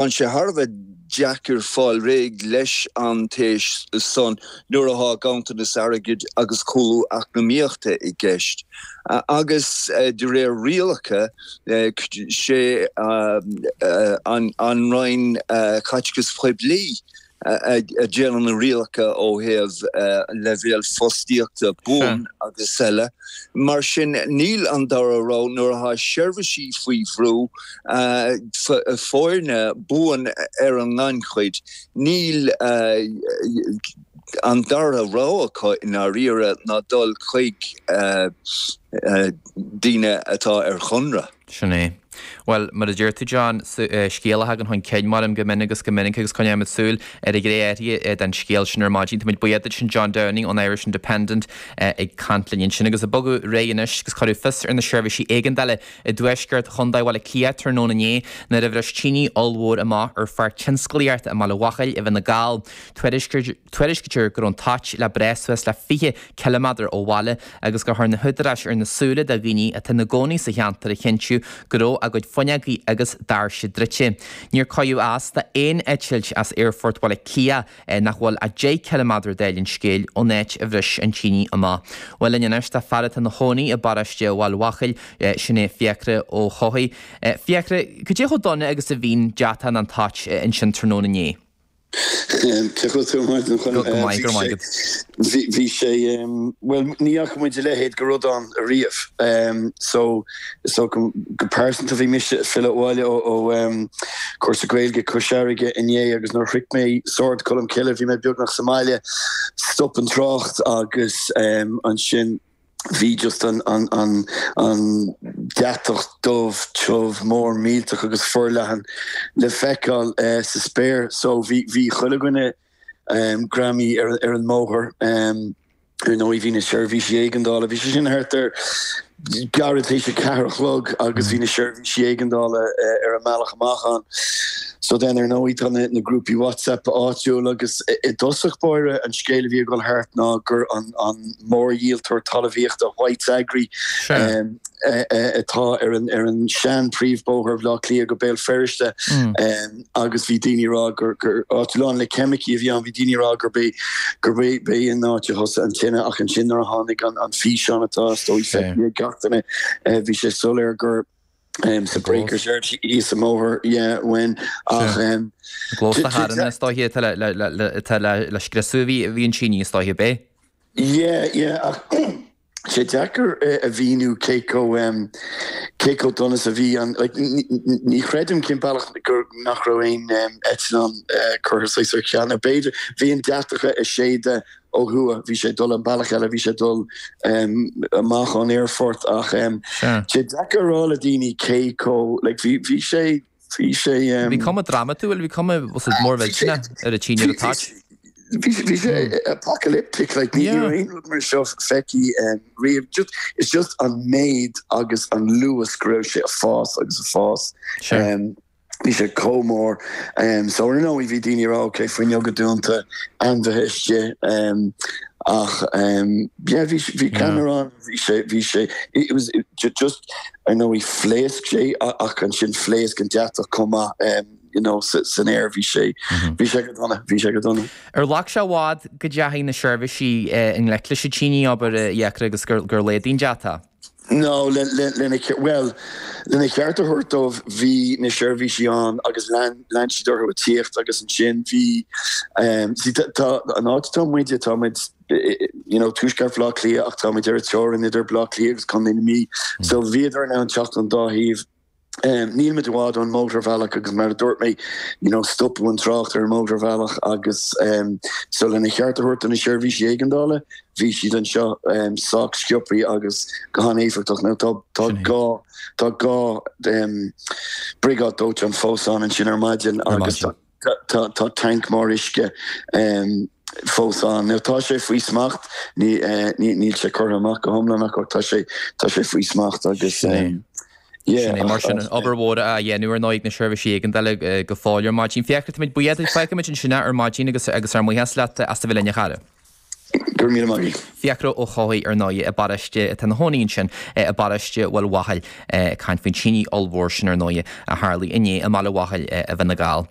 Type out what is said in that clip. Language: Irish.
Tá sé thar a bheith deacair fáil réidh leis an téis san nuair atá ganntanas airgid agus cúlú eacnamaíochta i gceist. Agus de réir rialacha, sé an Roinn Caiteachais Phoiblí a dhéanann na rialacha ó thaobh leibhéal fostaíochta buan agus eile. Mar sin, níl an dara rogha nuair atá seirbhísí faoi bhrú, foirne buan ar an ngannchuid, níl an dara rogha acu i ndáiríre ná dul chuig daoine atá ar chonradh. Sin é. Bhuel, mar a deir tú, John, scéal a thagann chun cinn maram go minic agus go minic agus coinneoimid súil ar an ghné áirithe den scéal sin ar maidin. Táimid buíoch duit sin John Downing ón Irish Independent ag caint linn ansin. Agus ag bogadh ar aghaidh anois agus cuireadh fios ar na seirbhísí éigeandála i dtuaisceart Chontae Bhaile Átha Cliath tráthnóna inné nuair a bhris tine ollmhór amach ar pháirc tionsclaíochta i mBaile Bhuachaill i bhFine Gall. Tuairiscítear go raibh an toit le breith suas le 20 ciliméadar ó bhaile agus gur chuir na húdaráis ar na súile de dhaoine atá ina gcónaí sa cheantar a chinntiú go raibh a gcuid fuinneogaí agus doirse druidte. Níor cuireadh as d'aon eitilt as Aerfort Bhaile Átha Cliath nach bhfuil ach 10 ciliméadar dála an scéil ón áit a bhris an tine amach. Bhuel linn anois tá fear atá ina chónaí i bparóiste Bhaile Bhuachaill, sin é Fiachra Ó hEochaidh. Fiachra, cad é chomh dona agus a bhí an deatach nó an toit ansin tráthnóna inné? Cén chaoi a bhfuil tú ar maidin, a Chonaill? Go maith, go raibh maith agat. Bhí sé, bhuel, ní fhaca muid a leithéid de rud ann ariamh. So, so go pearsanta bhí mise ag filleadh abhaile ó cúrsa Gaeilge Cois Fharraige inné agus nuair a shroich mé Sord Cholm Cille bhí mé beagnach sa mbaile, stop an trácht agus ansin, bhí just an an an an deatach dubh tiubh mór millteach agus forleathan le feiceáil sa spéir so bhí bhí chuile dhuine greamaithe ar ar an mbóthar. Ar ndóigh bhí na seirbhísí éigeandála, bhí sé sin thart ar gairid théis a ceathair a chlog agus bhí na seirbhísí éigeandála ar a mbealach amach ann. So then ar ndóigh tá na na grúpaí WhatsApp áitiúil agus i dtosach báire an scéal a bhí ag dul thart ná gur an an mórdhíoltóir talmhaíochta White's Agri atá ar an ar an sean príomhbóthar Bhaile Átha Cliath go Béal Feirste agus bhí daoine ag rá gur gur áit lán le ceimicí a bhí ann bhí daoine ag rá gurb é gurb é b'é an áit a thosaigh an tine ach ansin nuair a tháinig an an físeán atá is dóigh feicthe ag gach duine bhí sé soiléir gur sa Breakers Yard thíos an bóthar yeah when ach an gclós de charranna is dóiche atá le le atá le le scriosadh a bhí a bhí an tine is dóiche ab é? Yeah yeah ach tá sé deacair a mhíniú cé chomh cé chomh dona is a bhí an like ní chreidim cén bealach gur nach raibh aon eitleán curtha saghas ar ceal nó b'fhéidir bhí an deatach ag séideadh ó thuaidh, bhí sé ag dul an bealach eile, bhí sé ag dul amach ón aerfort ach tá sé deacair a rá le daoine cé chomh like bhí bhí sé bhí sé. Bhí cuma drámatúil, bhí cuma mór mhillteanach ar an tine ar an toit. Bhí bhí sé apocalyptic like ní raibh aon rud mar seo feicthe riamh. Just it's just an méid agus an luas go raibh sé ag fás agus ag fás. Bhí sé chomh mór. So ar ndóigh bhí daoine ag rá ok fuinneoga dúnta, ainmhithe istigh ach yeah bhí bhí ceannarán bhí sé bhí sé it was just ar ndóigh phléasc sé ach ansin phléasc an deatach chomh maith you know san aer bhí sé bhí sé go dona bhí sé go dona. Ar ghlac sé i bhfad go dteachaigh na seirbhísí i ngleic leis an tine abair a Fhiachra agus gur gur laghdaigh an deatach? No, lena, bhuel, lena cheart a thabhairt dóibh, bhí na seirbhísí ann agus lean, lean siad orthu ag tíocht agus ansin bhí, see, tá, an áit atá muide, tá muid, you know, tuaisceart Bhaile Átha Cliath ach tá muid ar an teorainn idir Baile Átha Cliath agus Contae na Mí, so bhíodar in ann teacht ón dá thaobh. Níl muid i bhfad ón mótarbhealach agus mar a dúirt mé, you know, stopadh an trácht ar an mótarbhealach agus so lena cheart a thabhairt do na seirbhísí éigeandála, bhí siad anseo sách sciobthaí agus go han-éifeachtach. Now tá tá dhá tá dhá briogáid dóiteáin fós ann ansin ar maidin agus tá Tá tanc mór uisce fós ann. Now tá sé faoi smacht, níl sé curtha amach go hiomlán ach tá sé tá sé faoi smacht agus yeah. Sin é, mar sin, obair mhór á dhéanamh ar ndóigh ag na seirbhísí éigeandála go fóill ar maidin. Fiachra, táimid buíoch duit, fágfaimid ansin é ar maidin agus agus ár mbuíochas leat as a bheith linn a chara. Go raibh míle maith agat. Fiachra Ó hEochaidh, ar ndóigh, i bparóiste, atá ina chónaí ansin i bparóiste Bhaile Bhachail, ag caint faoin tine ollmhór sin, ar ndóigh, a tharlaigh inné i mBaile Bhachail i bhFine Gall.